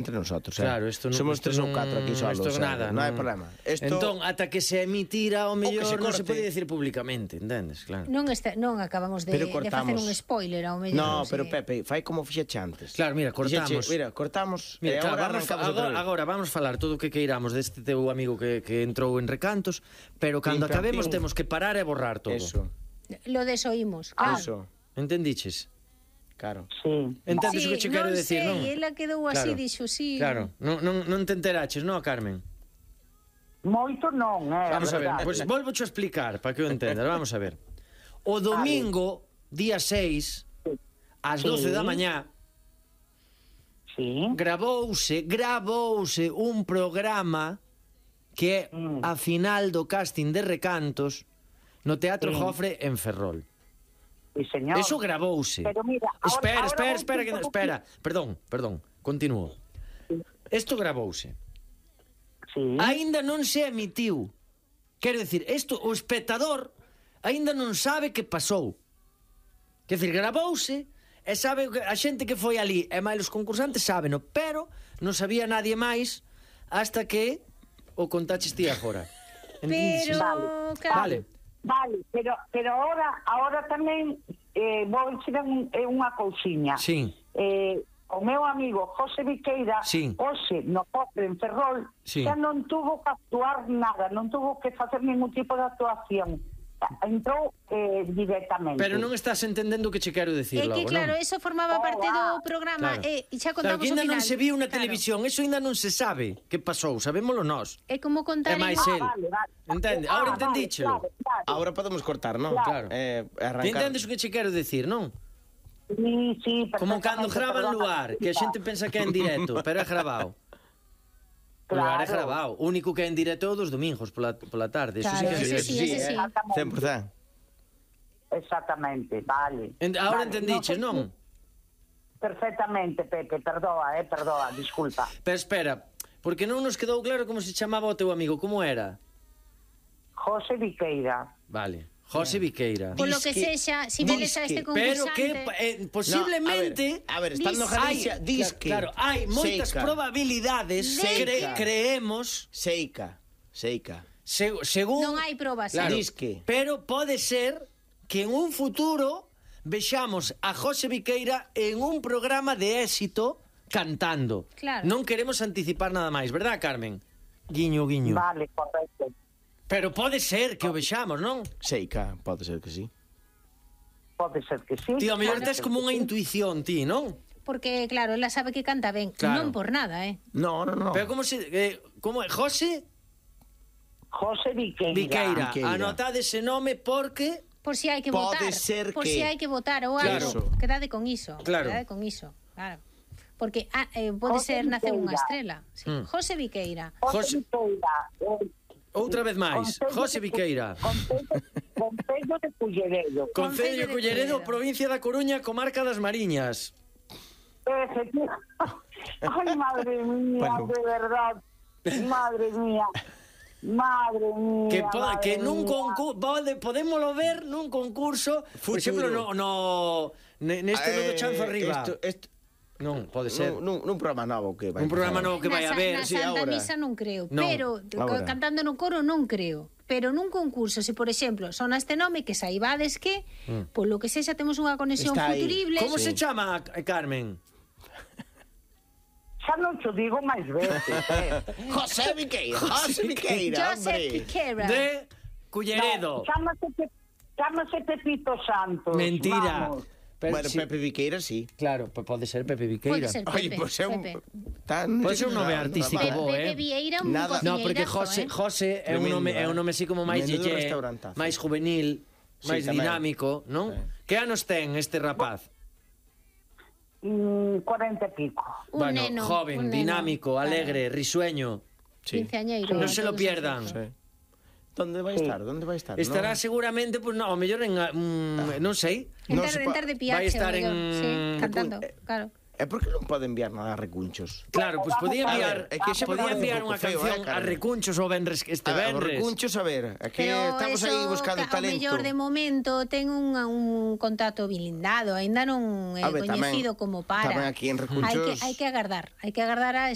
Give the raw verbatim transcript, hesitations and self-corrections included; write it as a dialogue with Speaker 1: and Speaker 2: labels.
Speaker 1: entre nosotros, eh?
Speaker 2: Claro, esto non,
Speaker 1: somos
Speaker 2: esto
Speaker 1: tres ou
Speaker 2: non-
Speaker 1: catro aquí solos,
Speaker 2: esto
Speaker 1: eh?
Speaker 2: nada,
Speaker 1: non hai
Speaker 2: non-
Speaker 1: problema. Esto...
Speaker 2: Entón, ata que se emitira, o mellor
Speaker 1: se
Speaker 2: non se
Speaker 1: corte.
Speaker 2: pode decir públicamente, entendes? Claro.
Speaker 3: Non, está, non acabamos de,
Speaker 1: Pero
Speaker 3: de facer
Speaker 1: cortamos.
Speaker 3: un spoiler ao mellor.
Speaker 1: No,
Speaker 3: se-
Speaker 1: pero Pepe, fai como fixeche antes.
Speaker 2: Claro, mira, cortamos.
Speaker 1: Fixeche, mira, cortamos
Speaker 2: Mira,
Speaker 1: e
Speaker 2: claro,
Speaker 1: agora
Speaker 2: vamos,
Speaker 1: arrancamos outra
Speaker 2: agora,
Speaker 1: vez.
Speaker 2: agora vamos falar todo o que queiramos deste teu amigo que, que entrou en Recantos, pero cando
Speaker 1: Pim, pam,
Speaker 2: acabemos
Speaker 1: pim.
Speaker 2: temos que parar e borrar todo.
Speaker 1: Eso,
Speaker 3: Lo desoímos.
Speaker 4: Ah,
Speaker 1: eso,
Speaker 2: Entendiches?
Speaker 1: claro.
Speaker 4: sí.
Speaker 2: Entendes
Speaker 3: Sí,
Speaker 2: o que che quero
Speaker 3: non
Speaker 2: decir,
Speaker 3: sei,
Speaker 2: non?
Speaker 3: ela quedou así,
Speaker 2: Claro.
Speaker 3: dixo, sí.
Speaker 2: Claro, non, non, non te enteraches, non, Carmen?
Speaker 4: Moito non, é
Speaker 2: Vamos a ver,
Speaker 4: verdade.
Speaker 2: pois pues, volvo a explicar para que o entendas, vamos a ver. O domingo, día seis, ás doce
Speaker 4: Sí.
Speaker 2: da mañá,
Speaker 4: Sí.
Speaker 2: gravouse, gravouse un programa que é
Speaker 4: Mm.
Speaker 2: a final do casting de Recantos no Teatro
Speaker 4: Sí.
Speaker 2: Jofre en Ferrol.
Speaker 4: Sí, señor.
Speaker 2: Eso gravouse.
Speaker 4: Pero mira, ahora-
Speaker 2: espera,
Speaker 4: ahora
Speaker 2: espera,
Speaker 4: vou
Speaker 2: espera,
Speaker 4: un
Speaker 2: que,
Speaker 4: pouco-
Speaker 2: espera, perdón, perdón, continúo. Isto gravouse.
Speaker 4: Sí.
Speaker 2: Aínda non se emitiu. Quero dicir, isto o espectador aínda non sabe que pasou. Quer dicir, gravouse e sabe que a xente que foi ali, e máis os concursantes sábeno, pero non sabía nadie máis hasta que o contaches ti agora.
Speaker 3: Pero,
Speaker 4: Vale.
Speaker 3: claro,
Speaker 2: Vale.
Speaker 4: Vale, pero pero ahora ahora tamén eh, vou dicir un, eh, unha cousiña.
Speaker 2: Sí.
Speaker 4: Eh, o meu amigo José Viqueira,
Speaker 2: Sí.
Speaker 4: hoxe no Cofre en Ferrol,
Speaker 2: Sí.
Speaker 4: xa non tuvo que actuar nada, non tuvo que facer ningún tipo de actuación. Entrou eh, directamente.
Speaker 2: Pero non estás entendendo o que che quero dicir
Speaker 3: é que
Speaker 2: logo,
Speaker 3: claro,
Speaker 2: non?
Speaker 3: eso formaba
Speaker 4: Oh,
Speaker 3: parte do
Speaker 4: ah.
Speaker 3: programa
Speaker 2: Claro.
Speaker 3: e, e xa
Speaker 2: Claro,
Speaker 3: contamos
Speaker 2: que ainda
Speaker 3: o final.
Speaker 2: non se viu na
Speaker 3: Claro.
Speaker 2: televisión, eso ainda non se sabe que pasou, sabémolo nós.
Speaker 3: É como contar
Speaker 2: É máis
Speaker 3: en...
Speaker 2: el.
Speaker 4: Ah, vale, vale.
Speaker 2: Entende?
Speaker 4: Ah,
Speaker 2: Ahora
Speaker 4: vale,
Speaker 2: entendíchelo.
Speaker 4: claro, claro.
Speaker 1: Ahora podemos cortar, non?
Speaker 2: Claro.
Speaker 1: Eh,
Speaker 2: Ti
Speaker 1: arrancar.
Speaker 2: entendes o que che quero dicir, non?
Speaker 4: Sí, sí,
Speaker 2: Como cando
Speaker 4: perfectamente,
Speaker 2: graban
Speaker 4: perdona.
Speaker 2: Luar, que a xente pensa que é en directo, pero é grabado. O Luar é
Speaker 4: Claro.
Speaker 2: grabado. O único que é en directo é o dos domingos pola, pola tarde. Eso sí
Speaker 3: Claro,
Speaker 2: que é en
Speaker 3: ese
Speaker 2: directo.
Speaker 3: sí, ese sí.
Speaker 4: Exactamente.
Speaker 1: cen por cento.
Speaker 4: Exactamente, vale.
Speaker 2: En- Ahora
Speaker 4: Vale,
Speaker 2: entendiches,
Speaker 4: no sei
Speaker 2: non?
Speaker 4: si- Perfectamente, Pepe, perdoa, eh, perdoa, disculpa.
Speaker 2: Pero espera, porque non nos quedou claro como se chamaba o teu amigo, como era?
Speaker 4: José Viqueira.
Speaker 2: Vale, José Viqueira.
Speaker 3: Por lo que
Speaker 1: Disque-
Speaker 3: sexa, si vedes a este
Speaker 1: disque.
Speaker 2: Pero
Speaker 3: concursante...
Speaker 2: que eh, posiblemente...
Speaker 1: No, a ver, a ver, estando
Speaker 3: Dis-
Speaker 1: Galicia,
Speaker 2: hai-
Speaker 1: disque.
Speaker 2: Claro, hai moitas
Speaker 1: Seica.
Speaker 2: probabilidades,
Speaker 1: Seica.
Speaker 2: cre, creemos,
Speaker 1: Seica, Seica.
Speaker 2: se, según...
Speaker 3: Non hai probas,
Speaker 2: Claro,
Speaker 3: eh?
Speaker 1: Disque.
Speaker 2: pero pode ser que en un futuro vexamos a José Viqueira en un programa de éxito cantando.
Speaker 3: Claro.
Speaker 2: Non queremos anticipar nada máis, verdad, Carmen? Guiño, guiño.
Speaker 4: Vale, correcto.
Speaker 2: Pero pode ser que o vexamos, non?
Speaker 1: Seica, pode ser que sí.
Speaker 4: Pode ser que sí.
Speaker 2: Tío, a mellor
Speaker 4: Pode
Speaker 2: tes
Speaker 4: ser
Speaker 2: como
Speaker 4: que
Speaker 2: unha
Speaker 4: sí.
Speaker 2: intuición, ti, non?
Speaker 3: Porque, claro, ela sabe que canta ben.
Speaker 2: Claro.
Speaker 3: Non por nada, eh?
Speaker 1: No, no, no.
Speaker 2: Pero como se... Eh, como é? José
Speaker 4: José Viqueira.
Speaker 2: Viqueira.
Speaker 1: Viqueira.
Speaker 2: Anotade ese nome porque...
Speaker 3: Por si hai que
Speaker 1: Pode
Speaker 3: votar.
Speaker 1: ser
Speaker 3: por
Speaker 1: que-
Speaker 3: si hai que votar ou
Speaker 2: Claro.
Speaker 3: algo. Quedade con iso.
Speaker 2: Claro.
Speaker 3: Quedade con iso. Claro. Porque ah, eh, pode
Speaker 4: José
Speaker 3: ser nacer unha
Speaker 4: Viqueira.
Speaker 3: estrela. Sí.
Speaker 2: Mm.
Speaker 3: José Viqueira.
Speaker 4: José
Speaker 2: José-
Speaker 4: Viqueira. eh,
Speaker 2: Outra vez máis.
Speaker 4: Concello
Speaker 2: José
Speaker 4: de-
Speaker 2: Viqueira.
Speaker 4: Concello Concello de Culleredo.
Speaker 2: Concello
Speaker 3: Concello
Speaker 2: de
Speaker 3: de
Speaker 2: Culleredo,
Speaker 3: Culleredo.
Speaker 2: provincia da Coruña, comarca das Mariñas.
Speaker 4: Efectivamente. Ay, madre mía,
Speaker 1: Bueno.
Speaker 4: de verdad. Madre mía. Madre mía.
Speaker 2: Que, po,
Speaker 4: madre
Speaker 2: que nun
Speaker 4: mía.
Speaker 2: concurso podémolo ver nun concurso, por
Speaker 1: Futuro.
Speaker 2: exemplo, no, no ne- neste no do Chanzo Arriba.
Speaker 1: Esto, esto,
Speaker 2: Non, pode ser.
Speaker 1: nun, nun, nun programa novo que vai
Speaker 2: Un programa
Speaker 1: empezar.
Speaker 2: novo que vai
Speaker 3: Na sa-
Speaker 2: haber.
Speaker 3: Na
Speaker 1: sí,
Speaker 3: Santa
Speaker 1: ahora.
Speaker 3: Misa non creo.
Speaker 2: Non,
Speaker 3: pero
Speaker 1: ahora.
Speaker 3: cantando no coro non creo. Pero nun concurso, se por exemplo sona este nome que saibades que,
Speaker 2: Mm.
Speaker 3: polo que sexa temos unha conexión
Speaker 1: Está aí.
Speaker 3: futurible.
Speaker 2: Como se
Speaker 1: Sí.
Speaker 2: chama, eh, Carmen?
Speaker 4: Xa non te digo máis veces, eh.
Speaker 1: José Viqueira, José Viqueira,
Speaker 3: Josep
Speaker 1: hombre.
Speaker 3: Piquera.
Speaker 2: De Culleredo.
Speaker 4: No, chámase, Pe- chámase Pepito Santos.
Speaker 2: Mentira.
Speaker 4: Vamos.
Speaker 2: Pero
Speaker 1: Bueno,
Speaker 2: si-
Speaker 1: Pepe Viqueira, sí.
Speaker 2: Claro, pues pode ser Pepe
Speaker 3: Pode
Speaker 2: Viqueira.
Speaker 3: ser
Speaker 1: Oye,
Speaker 3: Pepe.
Speaker 1: pues é un...
Speaker 3: Pepe.
Speaker 1: Tan...
Speaker 2: Pode ser un nome
Speaker 1: no,
Speaker 2: artístico
Speaker 3: Pe-
Speaker 2: bo,
Speaker 3: Pepe
Speaker 2: eh?
Speaker 3: Vieira un
Speaker 1: Nada.
Speaker 2: No, porque
Speaker 3: cociñeirazo,
Speaker 2: José,
Speaker 3: eh?
Speaker 2: José é un
Speaker 1: Tremendo,
Speaker 2: nome é un
Speaker 1: eh?
Speaker 2: nome así como máis
Speaker 1: Menudo
Speaker 2: yeye,
Speaker 1: restaurantazo.
Speaker 2: máis juvenil,
Speaker 1: Sí,
Speaker 2: máis
Speaker 1: tamén.
Speaker 2: dinámico, non?
Speaker 1: Sí.
Speaker 2: Que anos ten este rapaz?
Speaker 4: Mm, cuarenta e pico.
Speaker 3: Un
Speaker 2: bueno,
Speaker 3: neno,
Speaker 2: joven,
Speaker 3: un neno.
Speaker 2: dinámico,
Speaker 3: Claro.
Speaker 2: alegre, risueño.
Speaker 1: Sí.
Speaker 3: Quinceañeiro.
Speaker 2: Non se lo
Speaker 3: todos
Speaker 2: pierdan.
Speaker 3: esos.
Speaker 1: Sí. ¿Dónde vai
Speaker 4: Sí.
Speaker 1: estar? ¿Dónde vai estar?
Speaker 2: Estará
Speaker 1: No.
Speaker 2: seguramente, pues no, ao mellor en mm, non sei.
Speaker 3: En
Speaker 1: No
Speaker 3: tarde,
Speaker 1: se
Speaker 3: en
Speaker 1: pa-
Speaker 3: tarde
Speaker 2: vai
Speaker 3: piache,
Speaker 2: estar
Speaker 3: o mellor.
Speaker 2: en-
Speaker 3: Sí, cantando,
Speaker 1: eh,
Speaker 3: claro.
Speaker 1: E por que non pode enviar nada a Recunchos?
Speaker 2: Claro, pois podía
Speaker 1: A
Speaker 2: enviar,
Speaker 1: ver, é que sempre
Speaker 2: podía
Speaker 1: parece un
Speaker 2: enviar
Speaker 1: pouco
Speaker 2: unha
Speaker 1: feo,
Speaker 2: canción
Speaker 1: eh, Carmen?
Speaker 2: a Recunchos o vendres este
Speaker 1: A ver,
Speaker 2: vendres.
Speaker 1: Recunchos, a ver, é que
Speaker 3: Pero
Speaker 1: estamos
Speaker 3: eso,
Speaker 1: aí buscando
Speaker 3: ca-
Speaker 1: talento.
Speaker 3: O mellor de momento ten un, un contrato blindado, aínda non é
Speaker 1: A ver, tamén-
Speaker 3: coñecido como para.
Speaker 1: tamén aquí en Recunchos-
Speaker 3: Hai que, hai que agardar, hai que agardar a